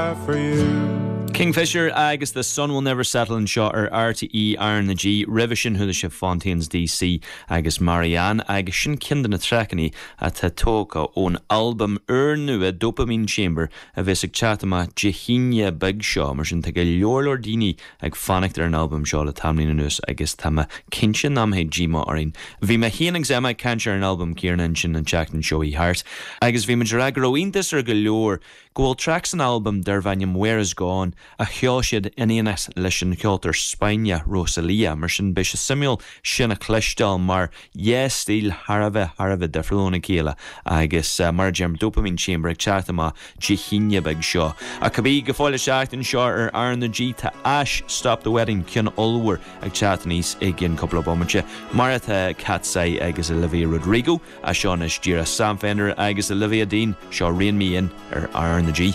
For you. Kingfisher agus The Sun Will Never Settle anseo ar RTÉ R na G. Roimhe sin chuala sibh Fontaines DC agus Marianne agus sin ceann de na traiceanna atá tógtha ón albam úrnua Dopamine Chamber a bheas ag teacht amach Dé hAoine beag seo. Mar sin tá go leor leor daoine ag fanacht ar an albam seo le tamaillín anuas agus tá mé cinnte nach mbeidh díomá orainn. Bhí mé féin agus Emma ag caint ar an albam céanna ansin an tseachtain seo chuaigh thart agus bhí muid ag rá go raibh iontas ar go leor go bhfuil traic san albam darb ainm Where Is Gone a cheol siad in éineacht leis an cheoltóir Spáinneach Rosalía. Mar sin beidh sé suimiúil sin a chloisteáil mar dhá stíl thar a bheith thar a bheith difriúil óna chéile agus mar a deirim Dopamine Chamber ag teacht amach Dé hAoine beag seo. Ach cibé, go fóill isteach anseo ar R na G tá Ash Stop the Wedding, ceann ollmhór ag teacht aníos i gcionn cúpla bomaite mar atá Katseye agus Olivia Rodrigo. As seo anois díreach Sam Fender agus Olivia Dean, seo Rein Me In ar R na G.